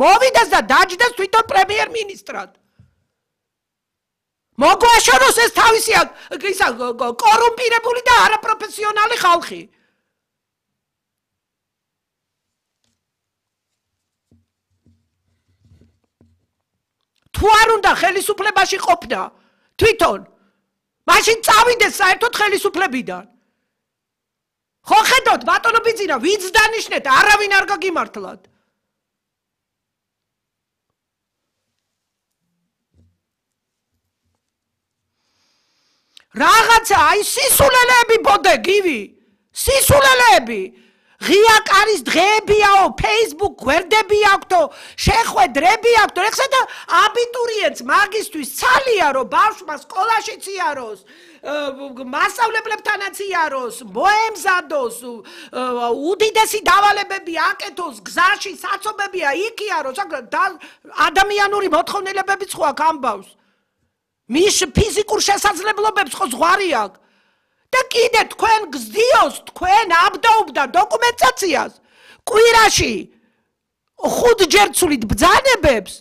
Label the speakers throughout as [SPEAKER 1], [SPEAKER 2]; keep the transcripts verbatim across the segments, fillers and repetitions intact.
[SPEAKER 1] მოვიდეს და დაჯდეს თვითონ პრემიერ-მინისტრად. მოგვაშოროს ეს თავისი ისა კორუმპირებული და არაპროფესიონალი ხალხი. თუ არ უნდა ხელისუფლებაში ყოფნა თვითონ მაშინ წავიდეს საერთოდ ხელისუფლებიდან. ხო ხედავთ ბატონო ბიძინა ვინც დანიშნეთ არავინ არ გაგიმართლათ. რაღაცა აი სისულელეები ბოდე გივი სისულელეები ღია კარის დღეებიაო Facebook გვერდები აქვთო შეხვედრები აქვთო ეხლა და აბიტურიენტს მაგისტვის ცალია რომ ბავშვმა სკოლაშიც იაროს მასწავლებლებთანაც იაროს მოემზადოს უდიდესი დავალებები აკეთოს გზაში საცობებია იქ იაროს ადამიანური მოთხოვნილებებიც ხო აქვს ამბავს მის ფიზიკურ შესაძლებლობებს ხო ზღვარი აქვს და კიდე თქვენ გზდიოს თქვენ აბდაუბდა დოკუმენტაციას კვირაში ხუთჯერ ცვლით ბრძანებებს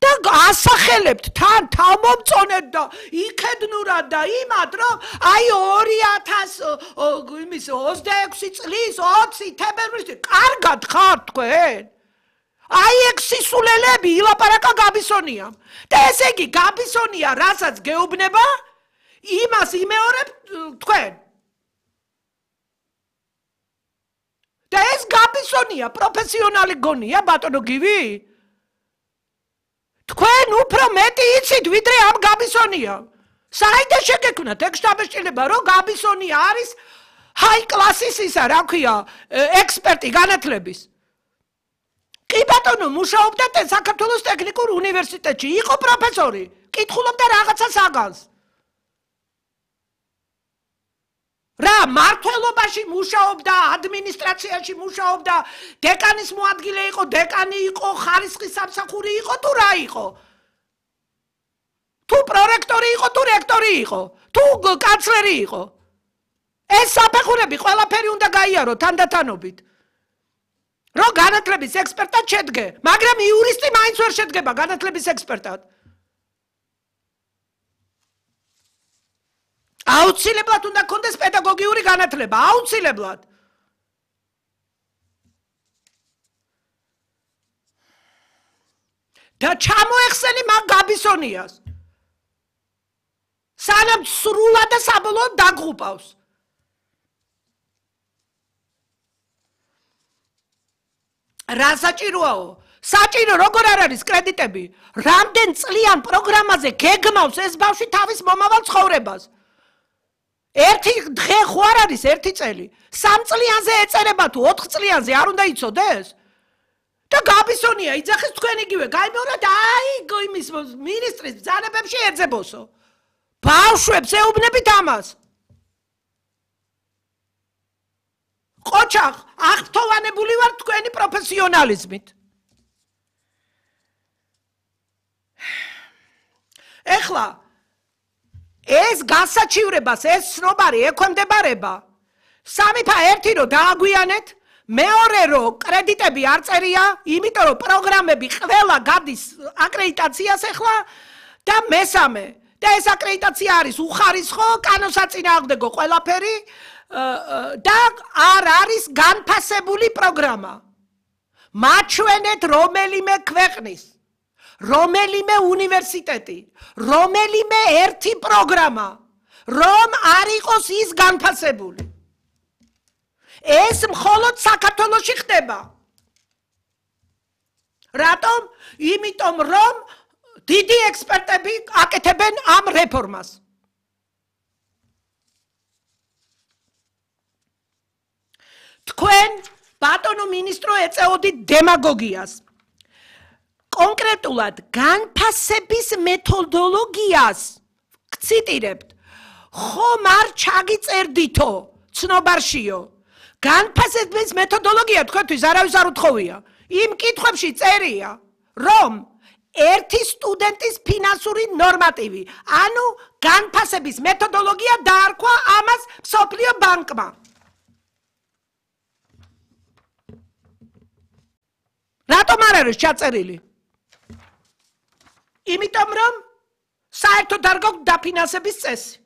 [SPEAKER 1] და ასახელებთ თან თავმომწონეთ და იქედნურად და იმად რომ აი ორი ათას იმის ოცდაექვსი წლის ოცი თებერვლის კარგად ხარ თქვენ აი ეგ სისულელები ილაპარაკა გაბისონიამ და ესე იგი გაბისონია რასაც გეუბნება იმას იმეორებ თქვენ და ეს გაბისონია პროფესიონალი გონია ბატონო გივი თქვენ უფრო მეტი იცით ვიდრე ამ გაბისონია საიდან შეგექმნათ ეგ შთაბეჭდილება რომ გაბისონია არის ჰაი კლასის ისა რა ქვია ექსპერტი განათლების კი ბატონო მუშაობდა საქართველოს ტექნიკურ უნივერსიტეტში იყო პროფესორი კითხულობდა რაღაცა საგანს რა მართლობაში მუშაობდა ადმინისტრაციაში მუშაობდა დეკანის მოადგილე იყო დეკანი იყო ხარისხის სამსახური იყო თუ რა იყო თუ პრორექტორი იყო თუ რექტორი იყო თუ კანცლერი იყო ეს საფეხურები ყველაფერი უნდა გაიარო თანდათანობით რომ განათლების ექსპერტად შედგე მაგრამ იურისტი მაინც ვერ შედგება განათლების ექსპერტად აუცილებლად უნდა გქონდეს პედაგოგიური განათლება აუცილებლად და ჩამოეხსენი მაგ გაბისონიას სანამ სრულად და საბოლოოდ დაგღუპავს რა საჭიროაო საჭირო როგორ არ არის კრედიტები რამდენ წლიან პროგრამაზე გეგმავს ეს ბავშვი თავის მომავალ ცხოვრებას ერთი დღე ხო არ არის ერთი წელი სამ წლიანზე ეწერება თუ ოთხ წლიანზე არ უნდა იცოდეს და გაბისონია იძახის თქვენ იგივე გაიმეორეთ აი იმის მინისტრის ბრძანებებში ეძებოსო ბავშვებს ეუბნებით ამას ყოჩახ აღფრთოვანებული ვარ თქვენი პროფესიონალიზმით ეხლა ეს გასაჩივრებას ეს ცნობარი ექვემდებარება სამი ფა ერთი რომ დააგვიანეთ მეორე რომ კრედიტები არ წერია იმიტომ რომ პროგრამები ყველა გადის აკრედიტაციას ეხლა და მესამე და ეს აკრედიტაცია არის უხარისხო კანონსაწინააღმდეგო ყველაფერი და არ არის განფასებული პროგრამა მაჩვენეთ რომელიმე ქვეყნის რომელიმე უნივერსიტეტი რომელიმე ერთი პროგრამა რომ არ იყოს ის განფასებული ეს მხოლოდ საქართველოში ხდება რატომ იმიტომ რომ დიდი ექსპერტები აკეთებენ ამ რეფორმას თქვენ ბატონო მინისტრო ეწეოდით დემაგოგიას კონკრეტულად განფასების მეთოდოლოგიას გციტირებთ ხომ არ ჩაგიწერდითო ცნობარშიო განფასების მეთოდოლოგია თქვენთვის არავის არ უთხოვია იმ კითხვებში წერია რომ ერთი სტუდენტის ფინანსური ნორმატივი ანუ განფასების მეთოდოლოგია დაარქვა ამას მსოფლიო ბანკმა რატომ არ არის ჩაწერილი? იმიტომ რომ საერთოდ არ გაქვს დაფინანსების წესი.